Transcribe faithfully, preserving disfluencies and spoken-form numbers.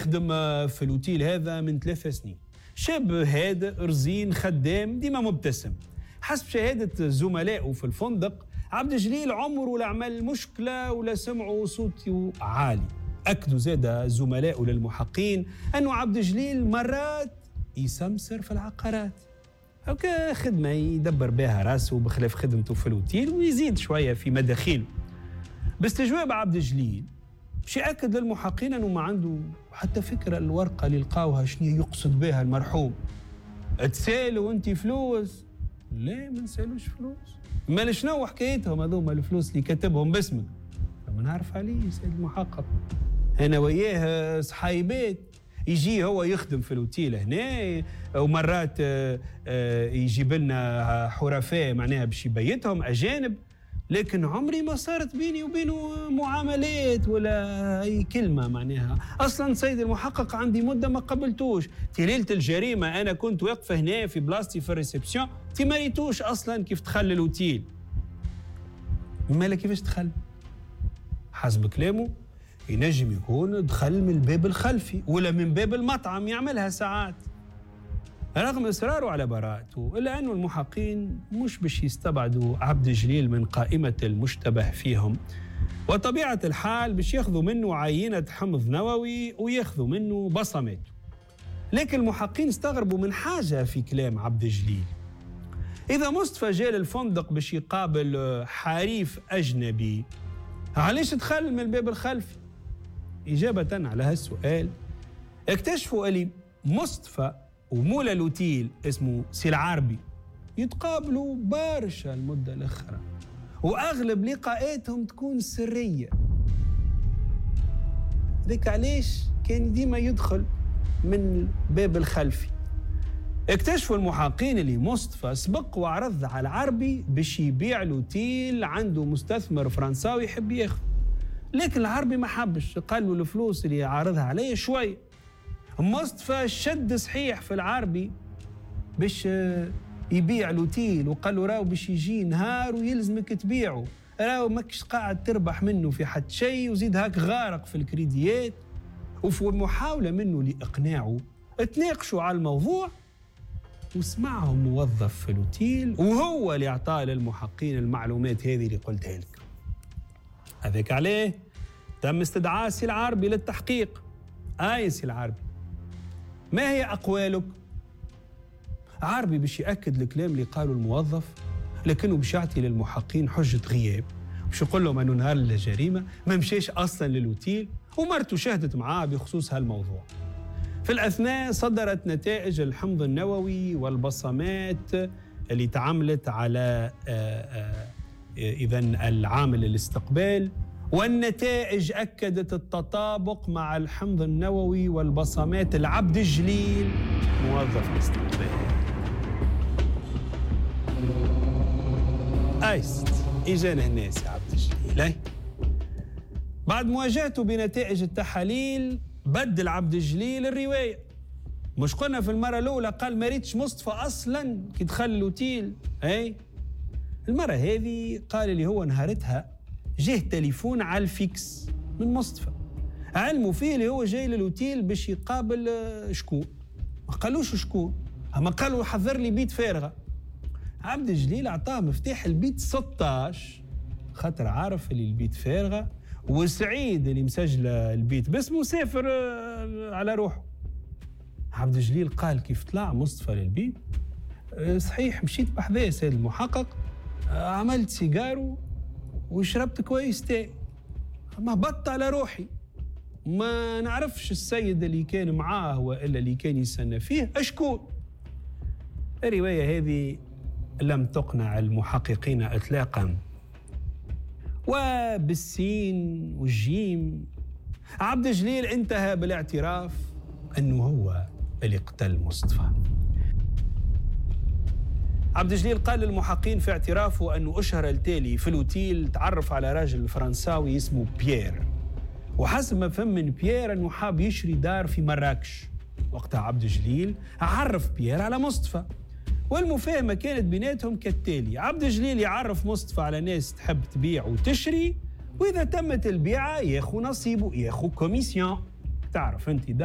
يخدم في الأوتيل هذا من ثلاث سنين. شاب هادئ رزين خدام ديما مبتسم. حسب شهادة زملائه في الفندق، عبد الجليل عمره لا عمل مشكلة ولا سمعوا صوته عالي. أكدوا زاد زملائه للمحقين أنه عبد الجليل مرات يسمسر في العقارات أو كخدمة يدبر بها راسه بخلاف خدمته في الأوتيل ويزيد شوية في مداخيله. باستجواب عبد الجليل باش يأكد للمحقين أنه ما عنده حتى فكرة الورقة اللي لقاوها شنو يقصد بها المرحوم. تسالوا أنت فلوس؟ لا ما نسالوش فلوس. ما شنو حكايتهم هذوما الفلوس اللي كتبهم باسمك؟ ما نعرف عليه سيد المحقق، أنا وياه صحايبات. يجي هو يخدم في الأوتيل هنا ومرات يجيب لنا حرفاء معناها باش يبيتهم أجانب، لكن عمري ما صارت بيني وبينه معاملات ولا أي كلمة معناها. أصلا سيد المحقق عندي مدة ما قبلتوش. في ليلة الجريمة أنا كنت واقفة هنا في بلاصتي في ال réception، تي ما ريتوش أصلا كيف دخل الأوتيل. مالا كيفاش دخل؟ حسب كلامه ينجم يكون دخل من الباب الخلفي ولا من باب المطعم، يعملها ساعات. رغم إصراره على براءته إلا أنه المحقين مش باش يستبعدوا عبد الجليل من قائمة المشتبه فيهم، وطبيعة الحال باش ياخذوا منه عينة حمض نووي وياخذوا منه بصماته. لكن المحقين استغربوا من حاجة في كلام عبد الجليل. إذا مصطفى جاء للفندق باش يقابل حريف أجنبي، علاش دخل من الباب الخلفي؟ إجابة على هالسؤال اكتشفوا اللي مصطفى ومولا الأوتيل اسمه سي العربي يتقابلوا برشا المدة الأخرى، وأغلب لقاءاتهم تكون سرية. ذيك علاش كان ديما يدخل من الباب الخلفي. اكتشفوا المحقين اللي مصطفى سبق وعرض على العربي باش يبيع الأوتيل، عنده مستثمر فرنساوي يحب ياخذ، لكن العربي ما حبش، قال له الفلوس اللي عارضها عليه شوي. مصطفى شد صحيح في العربي باش يبيع الأوتيل، وقال له راهو باش يجي نهار ويلزمك تبيعه، راهو ماكش قاعد تربح منه في حد شيء، وزيد هاك غارق في الكريديات. وفي محاولة منه لإقناعه تناقشوا على الموضوع، وسمعهم موظف في الأوتيل وهو اللي أعطاه للمحقين المعلومات هذه اللي قلتها لك. هذاك عليه تم استدعاء سي العربي للتحقيق. آي سي العربي، ما هي أقوالك؟ عربي باش يأكد الكلام اللي قاله الموظف، لكنه باش يعطي للمحقين حجة غياب، باش يقول لهم أنه نهار الجريمة ما مشيش أصلا للأوتيل ومرته شهدت معاه بخصوص هالموضوع. في الأثناء صدرت نتائج الحمض النووي والبصمات اللي تعاملت على إذن العامل الاستقبال، والنتائج أكدت التطابق مع الحمض النووي والبصمات العبد الجليل موظف الاستقبال. أيست إجانا هنا يا عبد الجليل. بعد مواجهته بنتائج التحاليل بدل عبد الجليل الرواية. مش قلنا في المرة الأولى قال ما ريتش مصطفى أصلا كي دخل الأوتيل؟ أي المرة هذه قال اللي هو نهارتها جه تليفون على ال fixe من مصطفى، علموا فيه اللي هو جاي للأوتيل باش يقابل شكون. ما قالوش شكون، أما قالوا حضر لي بيت فارغة. عبد الجليل أعطاه مفتاح البيت ستاش خاطر عارف اللي البيت فارغة، وسعيد اللي مسجل البيت باسمه سافر على روحه. عبد الجليل قال كيف طلع مصطفى للبيت، صحيح مشيت بحذاه سيد المحقق، عملت سيجارو وشربت كويس تاي، ما هبطت على روحي، ما نعرفش السيد اللي كان معاه والا اللي كان يستنى فيه اشكون. الرواية هذه لم تقنع المحققين اطلاقا، وبالسين والجيم عبد الجليل انتهى بالاعتراف انه هو اللي قتل مصطفى. عبد الجليل قال للمحقين في اعترافه أنه أشهر التالي في الأوتيل تعرف على راجل فرنساوي اسمه بيير، وحسب ما فهم من بيير أنه حاب يشري دار في مراكش. وقتها عبد الجليل عرف بيير على مصطفى، والمفاهمة كانت بيناتهم كالتالي: عبد الجليل يعرف مصطفى على ناس تحب تبيع وتشري، وإذا تمت البيعة ياخو نصيبه، ياخو commission. تعرف أنت دار